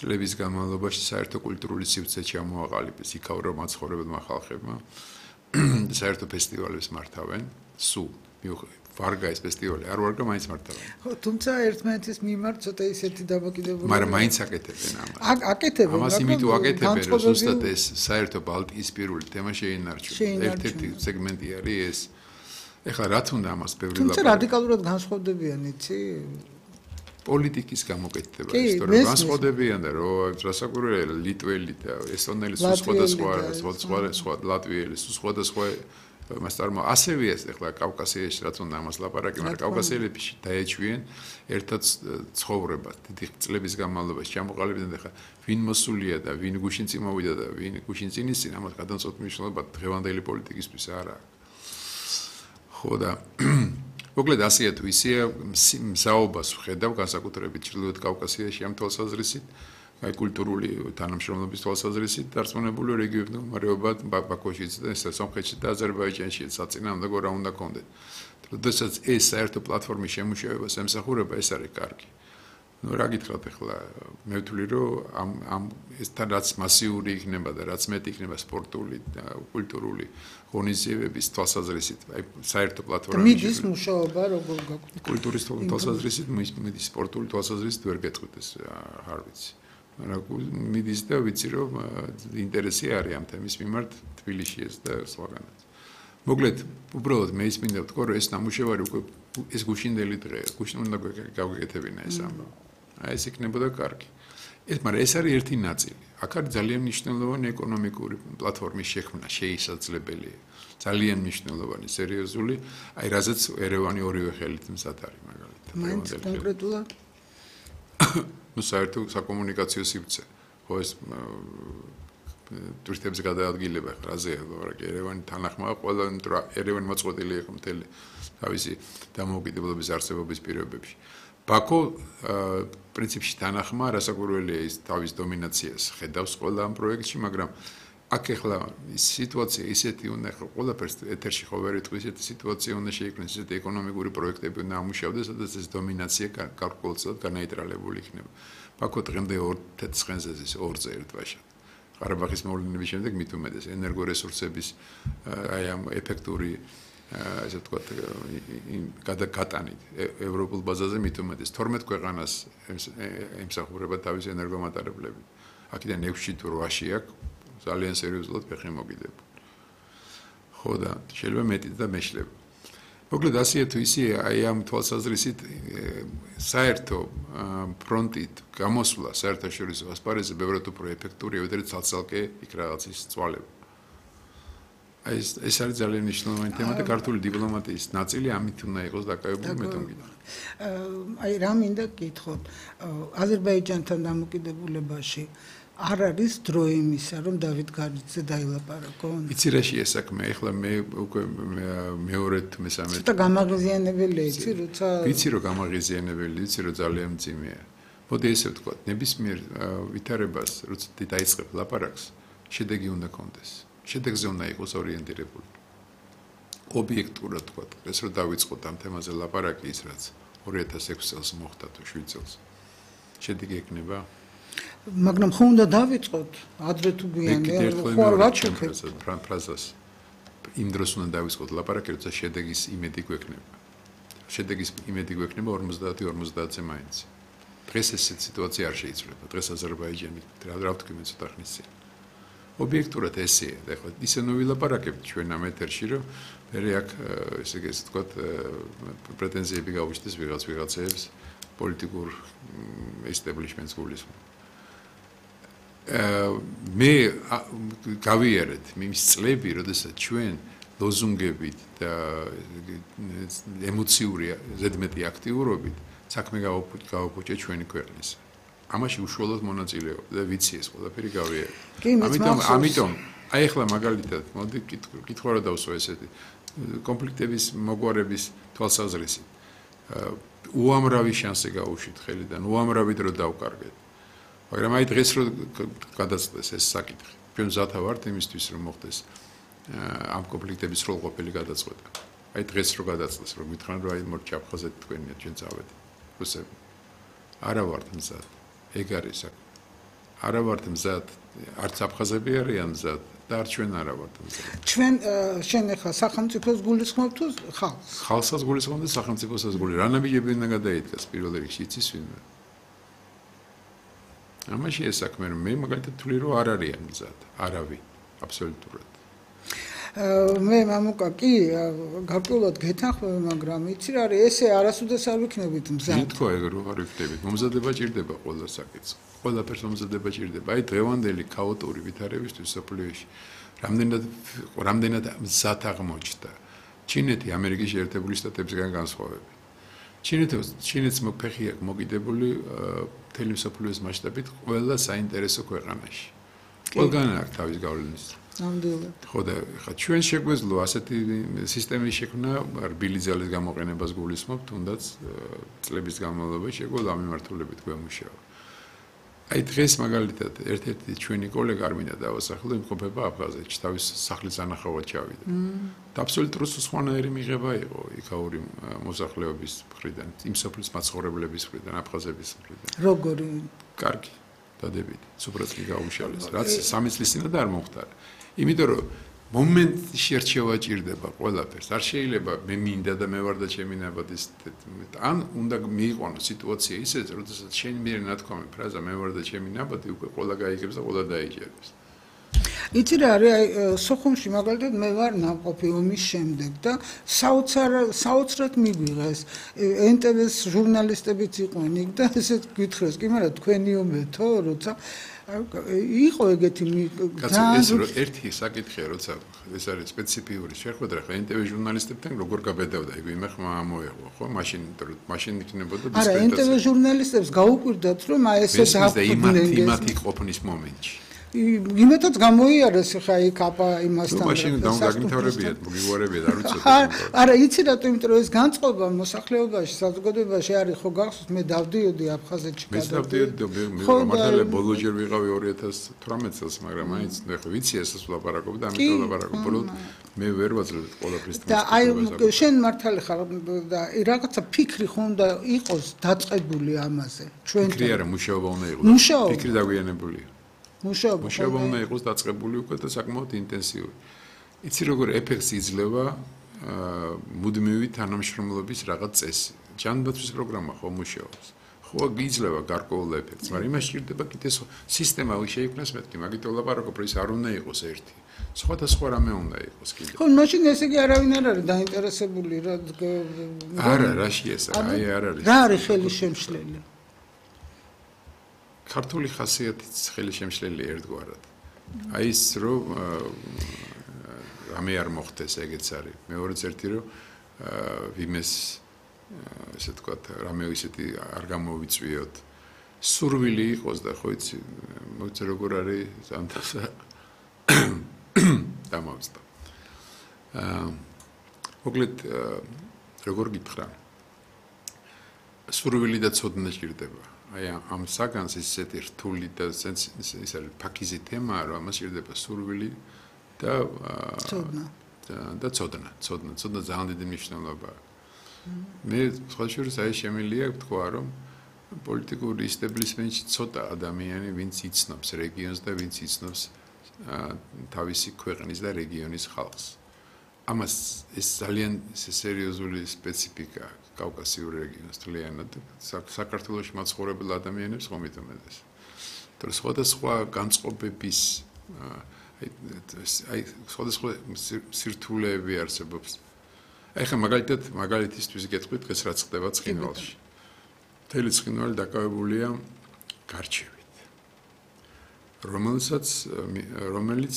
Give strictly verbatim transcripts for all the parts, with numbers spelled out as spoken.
წლების განმავლობაში საერთო კულტურული სივრცე ჩამოაყალიბეს იქაურ მაცხოვრებელმა ხალხებმა საერთო ფესტივალებს მართავენ სულ ვარგა ეს ფესტივალი არ ვარგა მაინც მართავენ ხო თუმცა ერთმანეთის მიმართ ცოტა ისეთი დამოკიდებული მაგრამ მაინც აკეთებენ ამას აკეთებენ ამას იმიტომ აკეთებენ რომ ზუსტად ეს საერთო ბალტიისპირული თემა შეინარჩუნოს ერთ-ერთი სეგმენტი არის ეს ეხლა რაც უნდა ამას ბევრი თუმცა რადიკალურად განსხვავდებიან იცი პოლიტიკის გამოკეთება ის თორე განსხვავდებიან და რომ რასაკვირველია ლიტველი და ესტონელი სულ სხვადასხვა სხვა სხვა ლატვიელი სულ სხვადასხვა მასტარმა ასევე ეს ეხლა კავკასიაში რაც უნდა ამას ლაპარაკი მაგრამ კავკასიელები დაეჩვიან ერთად ცხოვრება დიდი წლების განმავლობაში ჩამოყალიბდნენ ეხლა ვინ მოსულია და ვინ გუშინ წინ მოვიდა და ვინ გუშინ წინ ისინ ამას გადამწყვეტ მნიშვნელობა დღევანდელი პოლიტიკისთვის არ აქვს ხო და მოკლედ ასეა თუ ისეა მზაობას ვხედავ განსაკუთრებით ჩრდილოეთ კავკასიაში ამ თვალსაზრისით აი კულტურული თანამშრომლობის თვალსაზრისით დარწმუნებული რეგიონის მდგომარეობა ბაქოშიც და სომხეთში და აზერბაიჯანში საწინააღმდეგო რა უნდა კონდეთ. როდესაც ეს საერთო პლატფორმის შემუშავებას ემსახურება ეს არის კარგი. ნუ რა გითხრათ ახლა მე ვთვლი რომ ამ ამ ეს თან რაც მასიური იქნება და რაც მეტი იქნება სპორტული და კულტურული ღონისძიებების თვალსაზრისით აი საერთო პლატფორმაში მიდის მუშაობა როგორ გაგვიქვთ კულტურის თვალსაზრისით მიდის სპორტული თვალსაზრისით ვერ გეტყვით ეს არ ვიცი მაგრამ მიდის და ვიცი რომ ინტერესი არის ამ თემის მიმართ თბილისში ეს და სხვაგანაც მოკლედ უბრალოდ მე ის მინდა ვთქვა რომ ეს ნამუშევარი უკვე ეს გუშინდელი დღეა გუშინ უნდა გავგეკეთებინა ეს ამბავი აი ეს იქნებოდა კარგი ეს მაგრამ ეს არის ერთი ნაწილი აქ არის ძალიან მნიშვნელოვანი ეკონომიკური პლატფორმის შექმნა შეისაძლებელია ძალიან მნიშვნელოვანი სერიოზული აი რაზეც ერევანი ორივე ხელით მზად არის მაგალითად მაინც კონკრეტულად ну საერთო საკომუნიკაციო სივრცე ხო ეს ტურისტების გადაადგილება ხაზეა მაგრამ ერევანი თანახმაა ყველა ერევანი მოწყვეტილი იყო მთელი თავისი დამოუკიდებლობის არსებობის პირობებში ბაქო პრინციპში თანახმა რასაკვირველია ის თავის დომინაციას ხედავს ყველა ამ პროექტში მაგრამ აქ ახლა ის სიტუაცია ისეთი უნდა ხო ყველაფერს ეთერში ხო ვერ იტყვი ისეთი სიტუაცია უნდა შეიქმნას ისეთი ეკონომიკური პროექტები უნდა ამუშავდეს სადაც ეს დომინაცია გარკვეულწილად განაიტრალებული იქნება ბაქო დღემდე ორ თეცხენზე ის ორზე ერთვაშად ყარაბაღის მოვლენების შემდეგ მით უმეტეს ენერგორესურსების აი ამ ეფექტური ასე ვთქვათ გადაგატანით ევროპულ ბაზაზე მით უმეტეს თორმეტ ქვეყანას ემსახურება თავის ენერგომატარებლები აქედან ექვსში თუ რვაში აქვს ძალიან სერიოზულად ფეხი მოგიდებული. ხო და შეიძლება მეტი და მეშლება. მოკლედ ასეა თუ ისეა აი ამ თვალსაზრისით საერთო ფრონტით გამოსვლა საერთაშორისო ასპარეზზე ბევრად უფრო ეფექტურია ვიდრე ცალ-ცალკე იქ რაღაცის წვალება. აი ეს ეს არის ძალიან მნიშვნელოვანი თემა და ქართული დიპლომატიის ნაწილი ამით უნდა იყოს დაკავებული მე თვითონ. აი რა მინდა გითხოთ აზერბაიჯანთან დამოკიდებულებაში არ არის დრო იმისა, რომ დავით გარიძე დაილაპარაკონ? იცი რა შეა საქმე, ეხლა მე უკვე მეორედ მესამედ. ცოტა გამაღიზიანებელია, იცი, როცა ვიცი რომ გამაღიზიანებელი, ვიცი რომ ძალიან მძიმეა. მოდი ესე ვთქვა, ნებისმიერ ვითარებას, როცა დაიწყებ ლაპარაკს, შედეგი უნდა კონდეს. შედეგზე უნდა იყოს ორიენტირებული. ობიექტურად ვთქვა, ეს რომ დავიწყოთ ამ თემაზე ლაპარაკი ის რაც ორი ათას ექვსი წელს მოხდა თუ შვიდ წელს. შედეგი ექნება მაგრამ ხო უნდა დავიწყოთ ადრე თუ გვიანია ხო არ ვაჩვენებ ფრაზას იმ დროს უნდა დავიწყოთ ლაპარაკი როცა შედეგის იმედი გვექნება შედეგის იმედი გვექნება ორმოცდაათი ორმოცდაათზე მაინც დღეს ეს სიტუაცია არ შეიძლება დღეს აზერბაიჯანი რა ვთქვი მე ცოტა ხნის წინ ობიექტურად ესეა და ხო ისე ნუ ვილაპარაკებთ ჩვენ ამ ეთერში რომ მე აქ ესე იგი ესე ვთქვათ პრეტენზიები გავუჩნდეს ვიღაც ვიღაცებს პოლიტიკურ ესტაბლიშმენტს გულისხმობ მე გავიარეთ მის წლები, როდესაც ჩვენ ლოზუნგებით და ემოციური ზედმეტი აქტიურობით საქმე გავაფუჭე ჩვენი ქვეყნის. ამაში უშუალოდ მონაწილეობდა და ვიცი ეს ყველაფერი გავიარეთ. ამიტომ ამიტომ აი ახლა მაგალითად მოდი კითხვა რა დავსვა ესეთი კონფლიქტების მოგვარების თვალსაზრისით. უამრავი შანსი გაუშვით ხელიდან, უამრავი დრო დავკარგეთ. მაგრამ აი დღეს რო გადაწყვეტეს ეს საკითხი. ჩვენ მზათა ვართ იმისთვის რომ მოხდეს ამ კონფლიქტების სრულყოფილი გადაწყვეტა. აი დღეს რო გადაწყვეტეს რომ მითხრან რომ აი მორჩაფხაზე თქვენია ჩვენ წავედით. რუსები. არა ვართ მზად. ეგ არის საქმე. არა ვართ მზად, არც აფხაზები არიან მზად და არც ჩვენ არა ვართ მზად. ჩვენ შენ ახლა სახელმწიფოს გულისხმობ თუ ხალხს? ხალხსაც გულისხმობ და სახელმწიფოსაც გული. რა ნაბიჯები უნდა გადაიდგას პირველ რიგში იცის ვინმე? ამაში ეს საქმე რომ მე მაგალითად თვლი რომ არ არიან მზად, არავინ, აბსოლუტურად. მე მამუკა კი გარკვეულად გეთანხმები, მაგრამ იცი რა არის, ესე არასოდეს არ ვიქნებით მზად. მე თქვა ეგ რომ არ ვიქნებით, მომზადება ჭირდება ყველა საკითხს. ყველაფერს მომზადება ჭირდება. აი დღევანდელი ქაოტური ვითარებისთვის სოფლიოში რამდენად რამდენად მზად აღმოჩნდა. ჩინეთი ამერიკის შეერთებული შტატებისგან განსხვავებით. ჩინეთი ჩინეთს მოფეხი აქვს მოკიდებული მთელი სოფლიოს მასშტაბით ყველა საინტერესო ქვეყანაში. ყველგან აქვს თავის გავლენის. ნამდვილად. ხო და ხა ჩვენ შეგვეძლო ასეთი სისტემის შექმნა რბილი ძალის გამოყენებას გულისხმობ, თუნდაც წლების განმავლობაში შეგვეძლო ამ მიმართულებით გვემუშავა. აი დღეს მაგალითად ერთ-ერთი ჩვენი კოლეგა არ მინდა დავასახელო, იმყოფება აფხაზეთში, თავის სახლის ანახავად ჩავიდა. და აბსოლუტურად სხვანაირი მიღება იყო იქაური მოსახლეობის მხრიდან, იმ სოფლის მაცხოვრებლების მხრიდან, აფხაზების მხრიდან. როგორი? კარგი, დადებით, სუპრაც კი გაუმშალეს, რაც სამი წლის წინათ არ მომხდარა. იმიტომ რომ მომენტში რჩევა ჭირდება ყველაფერს. არ შეიძლება მე მინდა და მე ვარ და ჩემი ნაბადის ან უნდა მიიყვანო სიტუაცია ისეთ, როდესაც შენ მიერ ნათქვამი ფრაზა მე ვარ და ჩემი ნაბადი უკვე ყველა გაიგებს და ყველა დაიჭერებს. იცი რა არის აი სოხუმში მაგალითად მე ვარ ნამყოფი ომის შემდეგ და საოცარ საოცრად მიგვიღეს ენ ტე ვეს ჟურნალისტებიც იყვნენ იქ და ესეთ გითხრეს კი მაგრამ თქვენი ომეთო როცა იყო ეგეთი ძალიან ერთი საკითხია როცა ეს არის სპეციფიური შეხვედრა ხა ენ ტე ვეს ჟურნალისტებთან როგორ გაბედავდა ეგ ვინმე ხმა ამოეღო ხო მაშინ მაშინ იქნებოდა დისკრეტაცია არა ენ ტე ვეს ჟურნალისტებს გაუკვირდათ რომ აი ესე დააფუძნენ იმათი ყოფნის მომენტში იმეთაც გამოიარეს ხა იქ აპა იმასთან რა მაშინ დაგინთავრებიათ მოგიგვარებიათ არ ვიცოდი არა იცი რატო იმიტომ რომ ეს განწყობა მოსახლეობაში საზოგადოებაში არის ხო გახსოვს მე დავდიოდი აფხაზეთში გადავდი მე დავდიოდი მე მართალია ბოლო ჯერ ვიყავი ორი ათას თვრამეტ წელს მაგრამ მაინც ნახე ვიცი ესეც ვლაპარაკობ და ამიტომ ვლაპარაკობ ბოლოს მე ვერ ვაძლევ ყველაფრის და აი შენ მართალი ხარ და რაღაცა ფიქრი ხო უნდა იყოს დაწყებული ამაზე ჩვენ ფიქრი არა მუშაობა უნდა იყოს ფიქრი დაგვიანებულია მუშაობა მუშაობა უნდა იყოს დაწყებული უკვე და საკმაოდ ინტენსიური. იცი როგორ ეფექტს იძლევა მუდმივი თანამშრომლობის რაღაც წესი. ჯანდაცვის პროგრამა ხო მუშაობს. ხო იძლევა გარკვეულ ეფექტს, მაგრამ იმას ჭირდება კიდე სისტემა შეიქმნას მეთქი, მაგით ვლაპარაკობ, რომ ის არ უნდა იყოს ერთი. სხვადასხვა რამე უნდა იყოს კიდე. ხო, მაშინ ესე იგი არავინ არ არის დაინტერესებული რა არა, რაში ეს აი არ არის. რა არის ხელი შემშლელი? ქართული ხასიათით ხელი შემშლელი ერთგვარად. აი ის რომ რამე არ მოხდეს ეგეც არის. მეორეც ერთი რომ ვიმეს ესე თქვა რამე ისეთი არ გამოვიწვიოთ. სურვილი იყოს და ხო იცი მოიცე როგორ არის ზანთასა დამავსდა. აა მოკლედ როგორ გითხრა? სურვილი და ცოდნა ჭირდება. აი ამ საგანს ისეთი რთული და ის არის ფაქიზი თემაა რომ ამას ჭირდება სურვილი და ცოდნა და ცოდნა ცოდნა ცოდნა ძალიან დიდი მნიშვნელობა აქვს მე სხვა შორის აი შემიძლია ვთქვა რომ პოლიტიკური ისტაბლიშმენტში ცოტა ადამიანი ვინც იცნობს რეგიონს და ვინც იცნობს თავისი ქვეყნის და რეგიონის ხალხს ამას ეს ძალიან სერიოზული სპეციფიკა აქვს კავკასიურ რეგიონს თლიანად საქართველოში მაცხოვრებელ ადამიანებს ხომ იტომედეს. თორე სხვადასხვა განწყობების აი სხვადასხვა სირთულეები არსებობს. აი ხა მაგალითად მაგალითისთვის გეტყვით დღეს რაც ხდება ცხინვალში. მთელი ცხინვალი დაკავებულია გარჩევით. რომელსაც რომელიც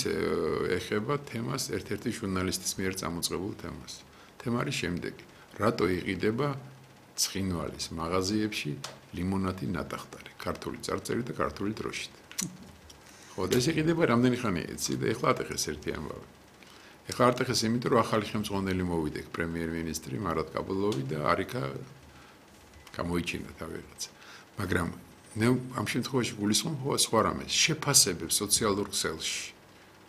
ეხება თემას ერთ-ერთი ჟურნალისტის მიერ წამოწყებულ თემას. თემა არის შემდეგი რატო იყიდება ცხინვალის მაღაზიებში ლიმონადი ნატახტარი, ქართული წარწერით და ქართული დროშით. ხო, და ეს იყიდება რამდენი ხანია იცი და ეხლა ატეხეს ერთი ამბავი. ეხლა ატეხეს იმიტომ რომ ახალი ხელმძღვანელი მოვიდა პრემიერ-მინისტრი მარატ კაბულოვი და არიქა გამოიჩინა თავი რაღაცა. მაგრამ მე ამ შემთხვევაში გულისხმობ სხვა რამეს, შეფასებებს სოციალურ ქსელში.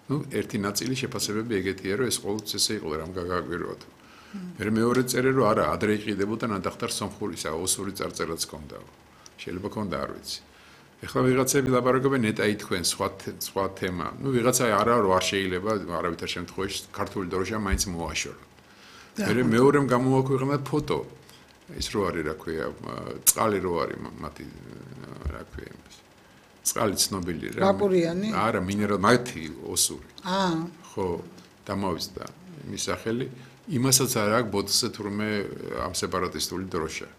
ნუ ერთი ნაწილი შეფასებები ეგეთია რომ ეს ყოველთვის ესე იყო რამ გაგაგვიროთ. მე მეორე წერე რომ არა ადრე იყიდებოდა ნატახტარ სომხურისა ოსური წარწერაც ჰქონდა შეიძლება ჰქონდა არ ვიცი ეხლა ვიღაცები ლაპარაკობენ ნეტაი თქვენ სხვა სხვა თემა. ნუ ვიღაცა არა რო არ შეიძლება არავითარ შემთხვევაში ქართული დროშა მაინც მოაშორო. მე მეორემ გამოაქვეყნა ფოტო. ის რო არის, რა ქვია, წყალი რო არის მათი რა ქვია იმას. წყალი ცნობილი რა. ბაკურიანი? არა, მინერალ მათი ოსური. აა. ხო, დამოვიზდა იმის სახელი. იმასაც არ აქვს ბოთლზე თურმე ამ სეპარატისტული დროშა.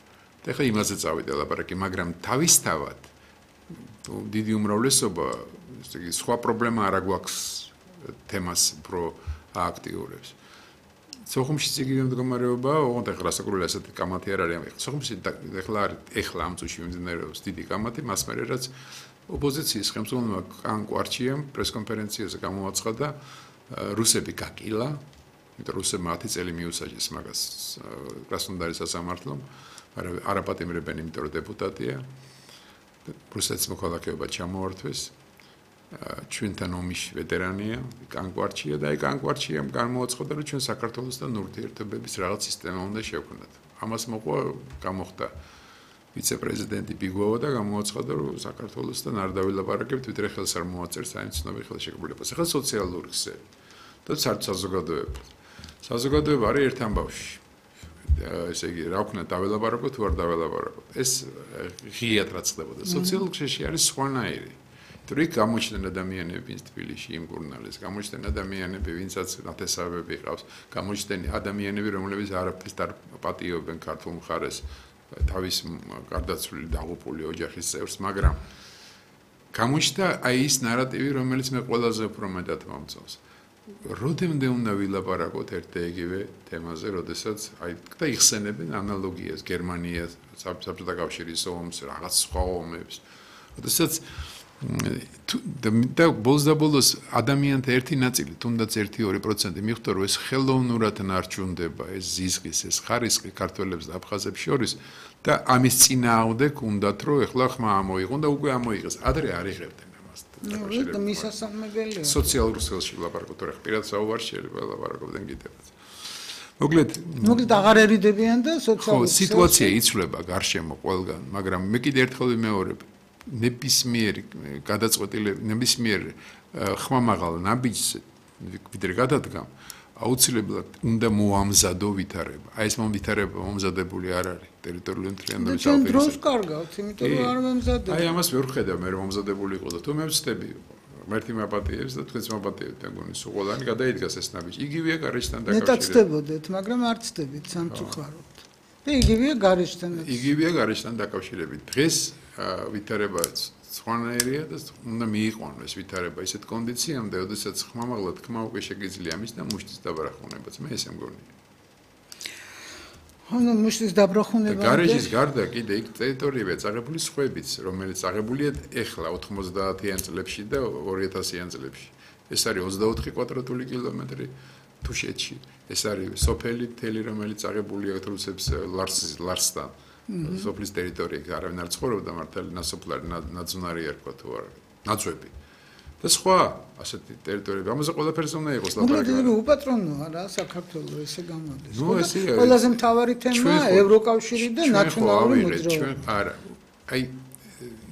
და ხა იმაზე წავიდა ლაპარაკი, მაგრამ თავისთავად დიდი უმრავლესობა, ესე იგი, სხვა პრობლემა არ აქვს თემას უფრო აქტიურებს. სოხუმშიც იგივე მდგომარეობა, ოღონდ ეხლა რასაკურველი ასეთი კამათი არ არის. სოხუმში ეხლა არის, ეხლა ამ წუთში მიმდინარეობს დიდი კამათი, მას მერე რაც ოპოზიციის ხელმძღვანელმა კან კვარჩიამ პრესკონფერენციაზე გამოაცხადა, რუსები გაკილა, იმიტომ რუსებმა ათი წელი მიუსაჯეს მაგას კრასნოდარის სასამართლომ, მაგრამ არაპატიმრებენ, იმიტომ რომ დეპუტატია. რუსეთის მოქალაქეობა ჩამოართვეს. ჩვენთან ომის ვეტერანია, კანკვარჩია და აი კანკვარჩიამ გამოაცხადა, რომ ჩვენ საქართველოსთან ურთიერთობების რაღაც სისტემა უნდა შევქმნათ. ამას მოყვა გამოხდა ვიცე-პრეზიდენტი ბიგოვა და გამოაცხადა, რომ საქართველოსთან არ დავილაპარაკებთ, ვიდრე ხელს არ მოაწერს აი ცნობილ ხელშეკრულებას. ახლა სოციალური ქსელი და საზოგადოება. საზოგადოება არის ერთ ამბავში. ესე იგი, რა ვქნა დავილაპარაკოთ თუ არ დავილაპარაკოთ. ეს ღიად რაც ხდებოდა. სოციალურ ქსელში არის სხვანაირი. თურიქ გამოჩნდნენ ადამიანები, ვინც თბილისში იმკურნალეს, გამოჩნდნენ ადამიანები, ვინცაც ნათესავები ყავს, გამოჩნდნენ ადამიანები, რომლებიც არაფერს არ პატიობენ ქართულ მხარეს, თავის გარდაცვლილი დაღუპული ოჯახის წევრს, მაგრამ გამოჩნდა აი ის ნარატივი, რომელიც მე ყველაზე უფრო მეტად მომწონს. როდემდე უნდა ვილაპარაკოთ ერთ და იგივე თემაზე, როდესაც აი და იხსენებენ ანალოგიას გერმანიას, საბჭოთა კავშირის ომს, რაღაც სხვა ომებს. როდესაც და ბოლოს და ბოლოს ადამიანთა ერთი ნაწილი, თუნდაც ერთი ორი პროცენტი მიხვდა, რომ ეს ხელოვნურად ნარჩუნდება, ეს ზიზღის, ეს ხარისხი ქართველებს და აფხაზებს შორის და ამის წინააღმდეგ უნდათ, რომ ეხლა ხმა ამოიღონ და უკვე ამოიღეს. ადრე არ იღებდნენ ამას. ნუ მისასალმებელია. სოციალურ ქსელში ლაპარაკობ, თორე პირად საუბარში შეიძლება ლაპარაკობდნენ კიდევაც. მოკლედ, მოკლედ აღარ ერიდებიან და სოციალურ ხო, სიტუაცია იცვლება გარშემო ყველგან, მაგრამ მე კიდე ერთხელ ვიმეორებ ნებისმიერი გადაწყვეტილი ნებისმიერ ხმამაღალ ნაბიჯს ვიდრე გადადგამ აუცილებლად უნდა მოამზადო ვითარება. აი ეს მომვითარება მომზადებული არ არის ტერიტორიული მთლიანობის ალპინიზმის. ჩვენ დროს კარგავთ, იმიტომ რომ არ მომზადებთ. აი ამას ვერ ვხედავ მე რომ მომზადებული იყო და თუ მე ვწდები მერთი მაპატიებს და თქვენც მაპატიებთ მეგონი სულ ყველანი გადაიდგას ეს ნაბიჯი. იგივეა გარეშთან დაკავშირებით. მეტად ცდებოდეთ, მაგრამ არ ცდებით სამწუხაროდ. და იგივეა გარეშთან. იგივეა გარეშთან დაკავშირებით. დღეს ვითარება სხვანაირია და უნდა მიიყვანოს ვითარება ისეთ კონდიციამდე, როდესაც ხმამაღლა თქმა უკვე შეგიძლია ამის და მუშტის დაბრახუნებაც. მე ესე მგონია. ანუ მუშტის დაბრახუნება. გარეშის გარდა კიდე იქ ტერიტორიებია წაღებული სხვებიც, რომელიც წაღებულია ეხლა ოთხმოცდაათიან წლებში და ორი ათასიან წლებში. ეს არის ოცდაოთხი კვადრატული კილომეტრი თუშეთში. ეს არის სოფელი მთელი, რომელიც წაღებულია რუსებს ლარსთან. სოფლის ტერიტორიაზე არავინ არ ცხოვრობდა მართალი ნასოფლარი ნაძვნარი ერქვა თუ არა ნაძვები და სხვა ასეთი ტერიტორიები ამაზე ყველაფერზე უნდა იყოს ლაპარაკი. მოკლედ უპატრონოა რა საქართველოს ესე გამოდის. ყველაზე მთავარი თემაა ევროკავშირი და ნაციონალური მოძრაობა. არა. აი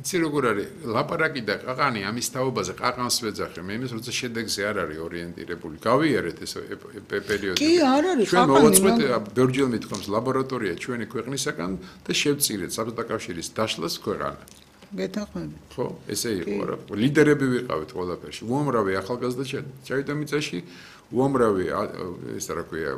იცი როგორ არის ლაპარაკი და ყაყანი ამის თაობაზე ყაყანს ვეძახე მე იმის როცა შედეგზე არ არის ორიენტირებული. გავიარეთ ეს პერიოდი. კი არ არის ჩვენ მოვაწყვეთ ბერჯელ მithkoms ლაბორატორია ჩვენი ქვეყნისაგან და შევწირეთ საბჭოთა კავშირის დაშლას ქვეყანა. გეთანხმებით. ხო, ესე იყო რა. ლიდერები ვიყავით ყველაფერში. უამრავი ახალგაზრდა ჩავიდა მიწაში, უამრავი ეს რა ქვია,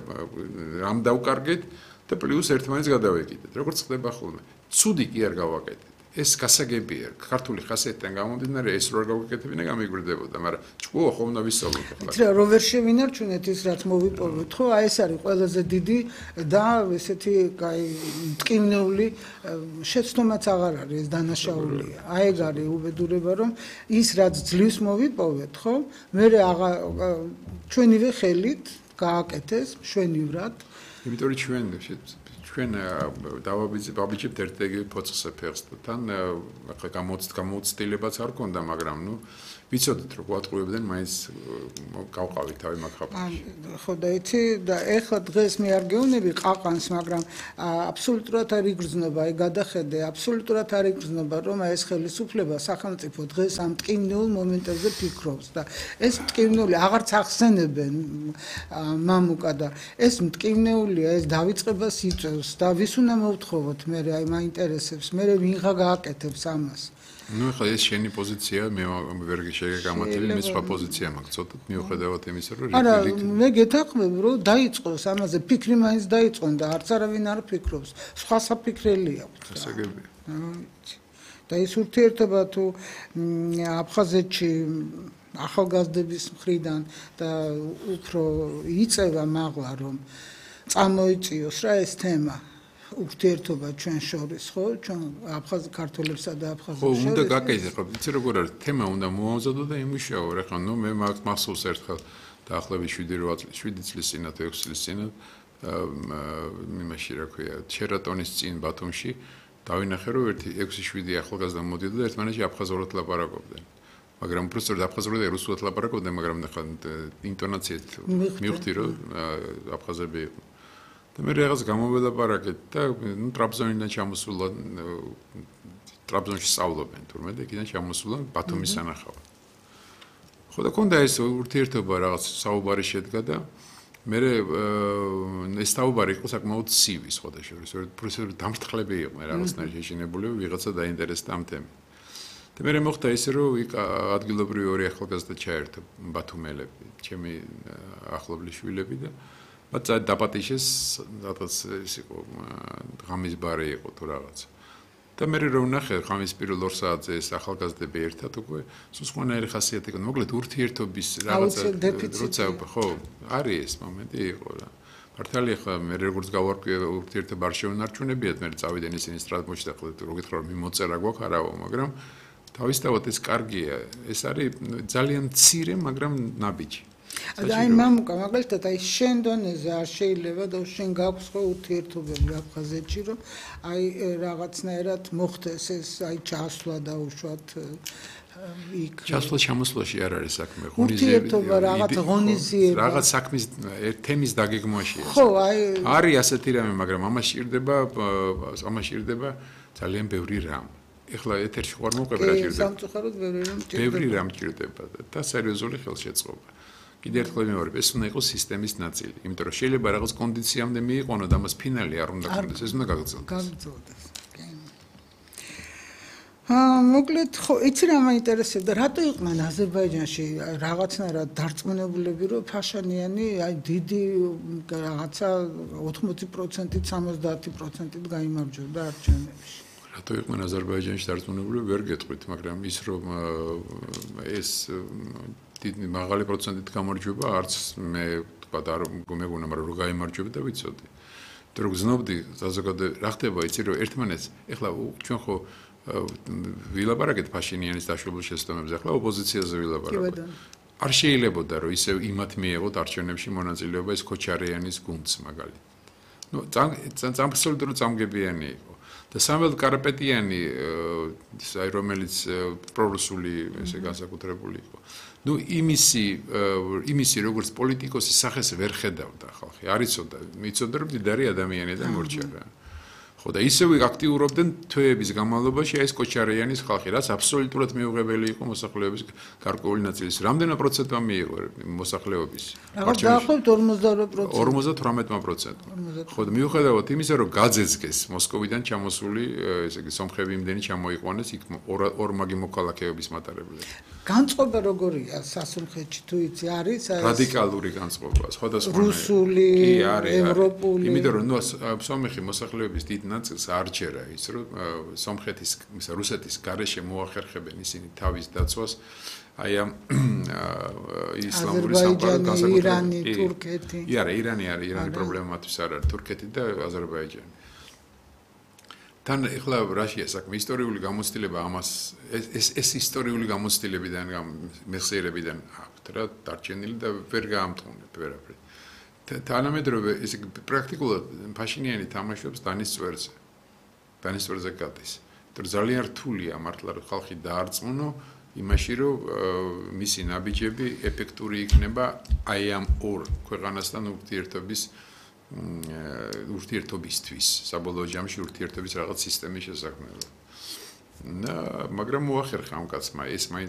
რამ დავკარგეთ და პლუს ერთმანეთს გადავეკიდეთ. როგორც ხდება ხოლმე. ცუდი კი არ გავაკეთეთ. ეს გასაგებია, ქართული ხასიათიდან გამომდინარე ეს რო არ გავაკეთებინა გამიგვირდებოდა, მაგრამ ჭკუა ხომ უნდა ვისწავლოთ ახლა. იცი რა, რო ვერ შევინარ ჩვენეთ ის რაც მოვიპოვოთ, ხო? აი ეს არის ყველაზე დიდი და ესეთი, აი, მტკივნეული შეცდომაც აღარ არის, ეს დანაშაულია. აი ეგ არის უბედურება, რომ ის რაც ძლივს მოვიპოვეთ, ხო? მე აღარ ჩვენივე ხელით გააკეთეს, მშვენივრად. იმიტომ რომ ჩვენ ჩვენ დავაბიჯებთ ერთ-ერთი ფოცხზე ფეხს და თან ახლა გამოცდილებაც არ ქონდა, მაგრამ ნუ ვიცოდით რომ გვატყუებდნენ, მაინც გავყავით თავი მაგხაპაში. ხო და იცი და ეხლა დღეს მე არ გეუბნები ყაყანს, მაგრამ აბსოლუტურად არ იგრძნობა, აი გადახედე, აბსოლუტურად არ იგრძნობა, რომ ეს ხელისუფლება სახელმწიფო დღეს ამ ტკივნეულ მომენტებზე ფიქრობს და ეს ტკივნეული აღარც ახსენებენ მამუკა და ეს ტკივნეულია, ეს დავიწყებას იწევს და ვის უნდა მოვთხოვოთ მე აი მაინტერესებს, მე ვინღა გააკეთებს ამას. Ну, ახლა ეს შენი პოზიცია, მე ვერ შეგამართლე, მე სხვა პოზიცია მაქვს, ცოტა მიუხედავად იმისა, რომ არა, მე გეთანხმებ, რომ დაიწყოს ამაზე ფიქრი მაინც დაიწყონ და არც არავინ არ ფიქრობს, სხვა საფიქრელი აქვს. გასაგებია. და ის ურთიერთობა თუ აფხაზეთში ახალგაზრდების მხრიდან და უფრო იწევა მაღლა, რომ წამოიწიოს რა ეს თემა. ურთიერთობა ჩვენ შორის, ხო? ჩვენ აფხაზ ქართველებსა და აფხაზებს შორის. ხო, უნდა გაკეთდეს, ხო, იცი როგორ არის, თემა უნდა მოამზადო და იმუშაო, რა ხო, ნუ მე მაქვს მახსოვს ერთხელ დაახლოებით შვიდი წლის წინათ, ექვსი წლის წინათ იმაში რა ქვია, შერატონის წინ ბათუმში დავინახე, რომ ერთი ექვსი შვიდი ახალგაზრდა მოდიოდა და ერთმანეთში აფხაზურად ლაპარაკობდნენ. მაგრამ უბრალოდ აფხაზურად და რუსულად ლაპარაკობდნენ, მაგრამ ნახა ინტონაციით მივხვდი, რომ აფხაზები იყო. და მე რაღაც გამოველაპარაკეთ და ნუ ტრაბზონიდან ჩამოსულა ტრაბზონში სწავლობენ თურმე და იქიდან ჩამოსულა ბათუმის სანახავად. ხო და კონდა ეს ურთიერთობა რაღაც საუბარი შედგა და მე ეს საუბარი იყო საკმაოდ ცივი სხვა შორის, პროფესორი დამრთლები იყო რაღაცნაირად შეშინებული, ვიღაცა დაინტერესდა ამ თემით. და მე მოხდა ისე რომ იქ ადგილობრივი ორი ახალგაზრდა ჩაერთო ბათუმელები, ჩემი ახლობლის შვილები და მათ დაპატიშეს რაღაც ის იყო ღამის ბარი იყო თუ რაღაც. და მე რომ ვნახე ღამის პირველ ორ საათზე ეს ახალგაზრდები ერთად უკვე სულ სხვანაირი ხასიათი იყო. მოკლედ ურთიერთობის რაღაცა როცა ხო არის ეს მომენტი იყო რა. მართალია ხა მე როგორც გავარკვიე ურთიერთობა არ შეუნარჩუნებიათ, მე წავიდენ ისინი სტრატმოში და ხო რო გითხრა რომ მიმოწერა გვაქვს არავო, მაგრამ თავისთავად ეს კარგია. ეს არის ძალიან მცირე, მაგრამ ნაბიჯი. აი მამუკა მაგალითად აი შენ დონეზე არ შეიძლება და შენ გაქვს ხო ურთიერთობები აფხაზეთში რომ აი რაღაცნაირად მოხდეს ეს აი ჩასვლა და უშუალოდ იქ ჩასვლა ჩამოსვლაში არ არის საქმე ურთიერთობა რაღაც ღონისძიება რაღაც საქმის თემის დაგეგმვაშია ხო აი არის ასეთი რამე მაგრამ ამას ჭირდება ამას ჭირდება ძალიან ბევრი რამ ეხლა ეთერში ხوار მოყვება რა ჭირდება სამწუხაროდ ბევრი რამ ჭირდება ბევრი რამ ჭირდება და სერიოზული ხელშეწყობა კიდევ ერთხელ ვიმეორებ, ეს უნდა იყოს სისტემის ნაწილი, იმიტომ რომ შეიძლება რაღაც კონდიციამდე მიიყვანო და მას ფინალი არ უნდა კონდეს, ეს უნდა გაგრძელდეს. გაგრძელდეს. აა, მოკლედ, ხო, იცი რა მაინტერესებდა, რატო იყვნენ აზერბაიჯანში რაღაცნაირად დარწმუნებულები, რომ ფაშანიანი აი დიდი რაღაცა ოთხმოცი პროცენტით, სამოცდაათი პროცენტით გაიმარჯვებდა არჩევნებში. რატო იყვნენ აზერბაიჯანში დარწმუნებულები, ვერ გეტყვით, მაგრამ ის რომ ეს დიდი მაღალი პროცენტით გამარჯვება, არც მე თქვა არ მეგონა, მაგრამ რო გაიმარჯვება და ვიცოდი. იმიტომ რომ გზნობდი საზოგადოება, რა ხდება, იცი რომ ერთმანეთს, ეხლა ჩვენ ხო ვილაპარაკეთ ფაშინიანის დაშვებულ შეცდომებზე, ეხლა ოპოზიციაზე ვილაპარაკოთ. არ შეიძლებოდა რომ ისევ იმათ მიეღოთ არჩევნებში მონაწილეობა ეს ქოჩარიანის გუნდს მაგალითად. ნუ აბსოლუტურად წამგებიანი იყო. და სამველ კარპეტიანი აი რომელიც პრორუსული ესე განსაკუთრებული იყო. ნუ იმისი იმისი როგორც პოლიტიკოსის სახეს ვერ ხედავდა ხალხი. არ იცოდა, იცოდა რომ მდიდარი ადამიანია და მორჩა რა. ხო და ისევ აქტიურობდნენ თვეების განმავლობაში ეს კოჩარიანის ხალხი, რაც აბსოლუტურად მიუღებელი იყო მოსახლეობის გარკვეული ნაწილის. რამდენა პროცენტმა მიიღო მოსახლეობის? დაახლოებით ორმოცდაოთხ პროცენტი. ხო და მიუხედავად იმისა, რომ გაძეცგეს მოსკოვიდან ჩამოსული, ესე იგი სომხები იმდენი ჩამოიყვანეს იქ ორმაგი მოქალაქეობის მატარებლები. განწყობა როგორია სასულხეთში თუ იცი არის რადიკალური განწყობა, სხვადასხვა რუსული, ევროპული. იმიტომ რომ ნუ სომეხი მოსახლეობის დიდ ნაწილს არ ჯერა ის რომ სომხეთის, ისა რუსეთის გარეშე მოახერხებენ ისინი თავის დაცვას აი ამ ისლამური სამყაროს აზერბაიჯანი, ირანი, თურქეთი. არა, ირანი არის, ირანი პრობლემა მათთვის არ არის, თურქეთი და აზერბაიჯანი. თან ეხლა რაშია საქმე ისტორიული გამოცდილება ამას ეს ეს ისტორიული გამოცდილებიდან მეხსიერებიდან აქვთ რა დარჩენილი და ვერ გაამტყუნებ ვერაფერი. თანამედროვე ეს პრაქტიკულად ფაშინიანი თამაშობს დანის წვერზე. დანის წვერზე გადის. თორ ძალიან რთულია მართლა რომ ხალხი დაარწმუნო იმაში რომ მისი ნაბიჯები ეფექტური იქნება აი ამ ორ ქვეყანასთან ურთიერთობის ურთიერთობისთვის, საბოლოო ჯამში ურთიერთობის რაღაც სისტემის შესაქმნელად. მაგრამ მოახერხა ამ კაცმა ეს მაინც